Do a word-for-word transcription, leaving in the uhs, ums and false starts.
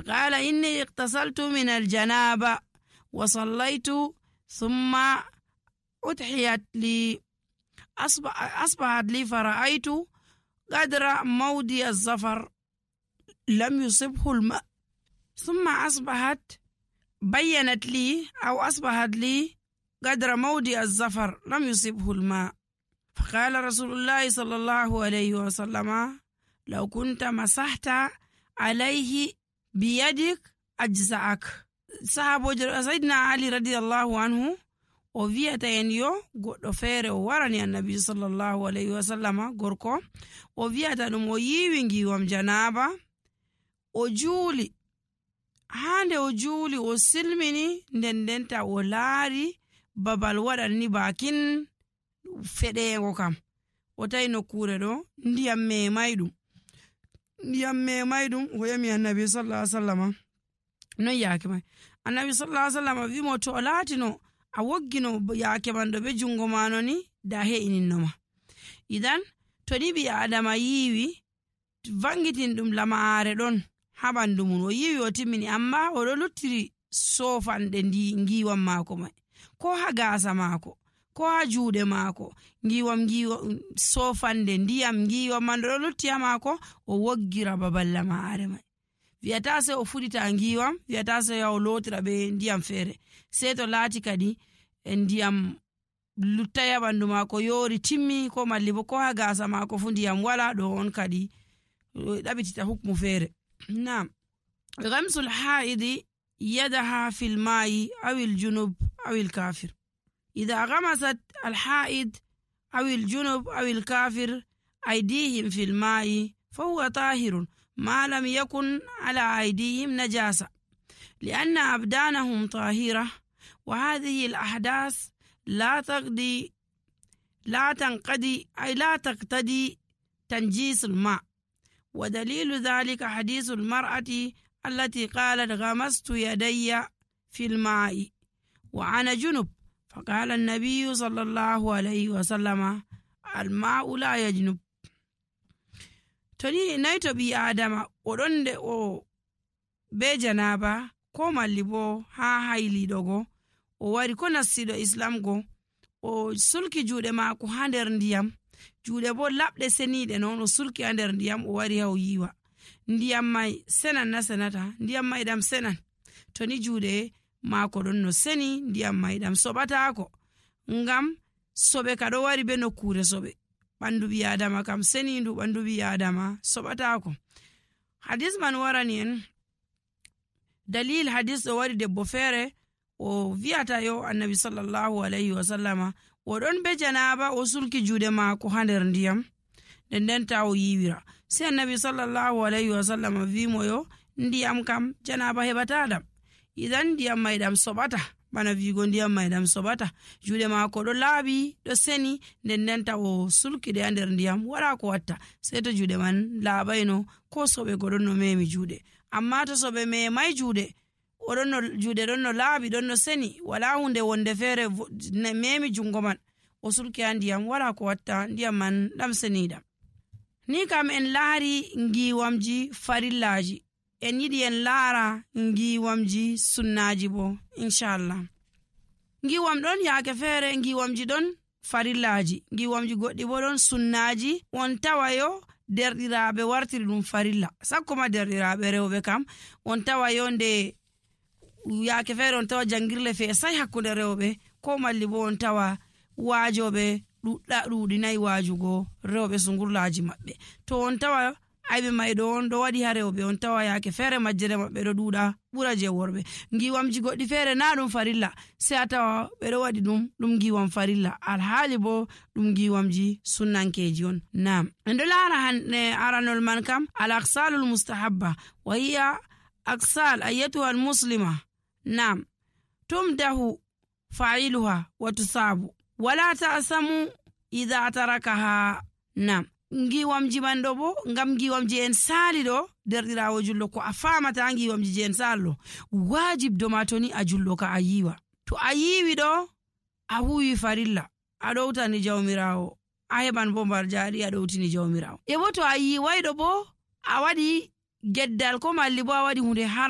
فقال إني اغتسلت من الجنابة وصليت ثم أضحيت لي أصبحت لي فرأيت قدر موضع الظفر لم يصبه الماء ثم أصبحت بينت لي أو أصبحت لي قدر موضع الظفر لم يصبه الماء. فقال رسول الله صلى الله عليه وسلم لو كنت مسحت عليه بيدك أجزعك. صحابة سيدنا علي رضي الله عنه o wi'ata en yo goɗɗo feere o warani annabi sallallahu alayhi wa sallam gorko o wi'ata ɗum o yiwi ngiwam janaba o juuli hande o juuli o silmini nden ndenta o laari babal waɗanni bakin feɗego kam o tawi nokkure ɗo ndiyam memay ɗum ndiyam memay ɗum o yami annabi sallallahu alayhi wa sallam non yaake may annabi sallallahu alayhi wa sallam wimo to o laatino a woggino yaake man ɗo be jungo mano ni da he'ininoma. Idan to ni ɓi adama yiwi vangitin ɗum lamaare ɗon ha ɓandu mum o yiwi o timmini amma oɗo luttiri sofanɗe ndi ngiwam maako mai ko ha gaasa maako ko ha juuɗe maako ngiwam ngiwam sofande ndiyam ngiwam man ɗo lutti ha maako o woggira babal lamaare mai wiyata se o fuɗita ngiwam wiyata se o lotira be ndiyam feere sei to laati kadi ndiyam luttaya ɓandu maako yori timmi ko malli bo ko ha gaasa maako fu ndiyam wala ɗo on kadi ɗaɓitita hukmu feere. Naam, ghamsul haidi yadaha fil ma'i aw al junub aw al kafir. idha ghamasat al haid aw al junub aw al kafir aydihim fil ma'i fa huwa tahirun ما لم يكن على أيديهم نجاسة لأن أبدانهم طاهرة وهذه الأحداث لا تقضي لا تنقضي أي لا تقتضي تنجيس الماء. ودليل ذلك حديث المرأة التي قالت غمست يدي في الماء وأنا جنب فقال النبي صلى الله عليه وسلم الماء لا يجنب. toni naito bi adama odon de o be janaba ko malli bo ha haylido go o wari ko nasido islam go o sulki juude maako ha nder ndiyam juude bo labde senide non o sulki ha nder ndiyam o wari ha o yiwa ndiyam mai senan na senata ndiyam mai dam senan toni juude maako don no seni ndiyam mai dam sobata ko ngam sobe kado wari be no kure sobe ɓandu ɓi adama kam senindu ɓandu ɓi adama soɓatako. Hadis man warani en dalil hadis ɗo wari debbo feere o wiyata yo annabi sallallahu alayhi wa sallama o ɗon be janaba o sulki juuɗe maako ha nder ndiyam nden ndenta o yiwira sai annabi sallallahu alayhi wa sallama wimo yo ndiyam kam janaba heɓataɗam idan ndiyam may ɗam soɓata bana vigo ndiyam may ɗam soɓata juuɗe maako ɗo laaɓi ɗo seni nden ndenta o sulkide ha nder ndiyam wala ko watta sei to juuɗe man laaɓayno ko soɓe ko ɗon no memi juuɗe amma to soɓe memay juuɗe oɗon no juuɗe ɗon no laaɓi ɗon no seni wala hunde wonde feere memi jungo man o sulki ha ndiyam wala ko watta ndiyam man ɗam seniɗam. Ni kam en laari ngiwamji farillaji en yiɗi en laara ngiwamji sunnaji bo inchallah. Ngiwam ɗon yaake feere ngiwamji ɗon farillaji ngiwamji goɗɗi bo ɗon sunnaji on tawayo derɗiraɓe wartiri ɗum farilla sakkoma derɗiraɓe rewɓe kam on tawayo nde yaake feere on tawa jangirle feesay hakkunde rewɓe ko malli bo on tawa waajoɓe ɗuɗɗa ɗuɗinayi waajugo rewɓe sungurlaji maɓɓe to on tawa ayɓe mayɗo on ɗo waɗi ha rewɓe on tawa yaake feere majjere maɓɓe ɗo ɗuɗa ɓura je worɓe. Ngiwamji goɗɗi feere na ɗum farilla sei a tawa ɓeɗo waɗi ɗum ɗum ngiwam farilla alhaali bo ɗum ngiwamji sunnankeji on. Nam en ɗo laara hande aranol man kam al aksalul mustahabba wa hiya aksal ayyatuha al muslima. Nam tumdahu fa'iluha wa tusabu wala ta'samu idha tarakaha. Nam ngiwamji man ɗo bo ngam ngiwamji en saali ɗo derɗirawo jullo ko a famata ngiwamji je en sallo wajib do ma toni a jullo ka a yiwa to a yiwi ɗo a huwi farilla a ɗowtani jawmirawo a heɓan bo mbar jaari a ɗowtini jawmirawo e bo to a yiwayɗo bo a waɗi geddal ko malli bo a waɗi hunde haram